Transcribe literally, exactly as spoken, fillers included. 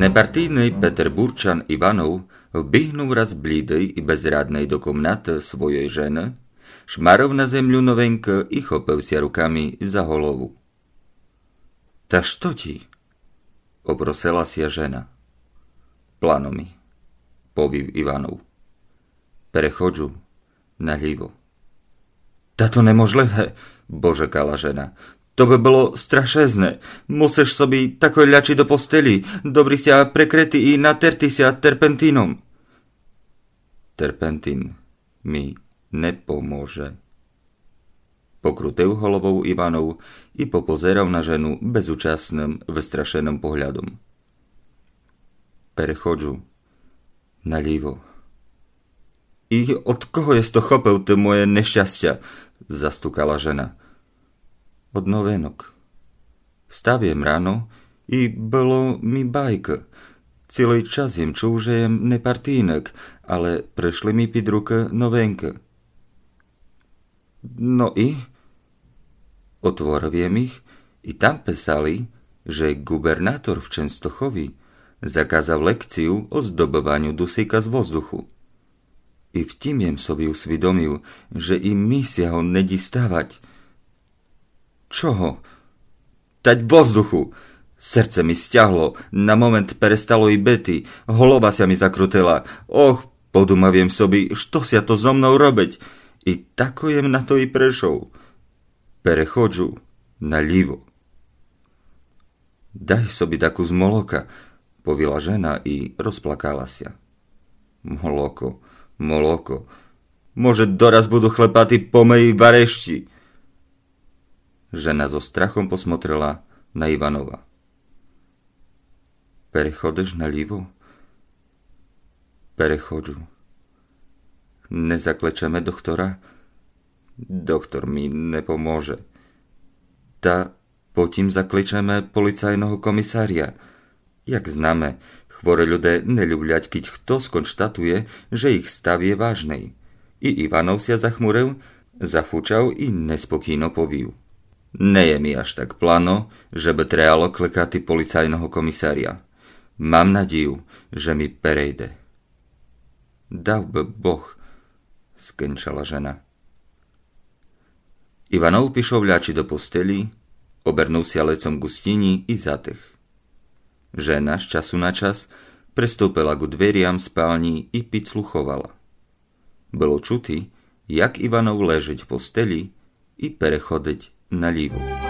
Непартийный петербурчан Иванов вбігнув раз блідый и безрадный до комнаты свойой жены, шмарыв на землю новенькы и хопыв ся руками за голову. Та што ті? Опросила ся жена. Плано ми, повів Иванов. Переходжу налїво. Та то неможливе, божекала жена. То бы было страшезне. Мусиш собі такой лячи до постелї, добрі ся прекрети и натерти ся терпентином. Терпентин ми не поможе. Покрутив головов Иванов и попозерав на жену безучасным, выстрашеным поглядом. Переходжу налїво. И од кого єс то хопыв ты моє нещастя? Застукала жена. Од новинок. Встав єм рано и было ми байка. Цілый час єм чув, же єм непартийник, але пришли ми під рукы новинкы. Но и? Отворыв єм їх, и там писали, же ґубернатор в Ченстохови заказав лекцию о здобываню дусика з воздуху. И в тім єм собі усвідомив, же и ми ся го не діставать. Чого? Тадь воздуху! Серце ми стягло, на момент перестало и бити, голова ся ми закрутила. Ох, подумав єм собі, што ся то зо мнов робить. И тако єм на то и пришов. Переходжу налїво. Дай собі дакус молока, повіла жена и розплакала ся. Молоко, молоко. Може, дораз буду хлепати по меї варещи. Жена зо страхом посмотрела на Иванова. Переходиш налїво? Переходжу. Не закличеме доктора? Доктор ми не поможе. Та потім закличеме полицайного комисаря. Як знаме, хворы люде не люблять, кідь хтос конштатує, же їх став є важный. И Иванов ся захмурив, зафучав и неспокійно повів: Не є ми аж так плано, же бы требало кликати полицайного комисаря. Мам надію, же ми перейде. Дав бы Бог, скенчала жена. Иванов пішов лячи до постелї, обернув ся лицом ґу стїнї и затих. Жена з часу на час приступила ґу дверям спалнї и підслуховала. Было чути, як Иванов лежить в постелї и переходить налїво.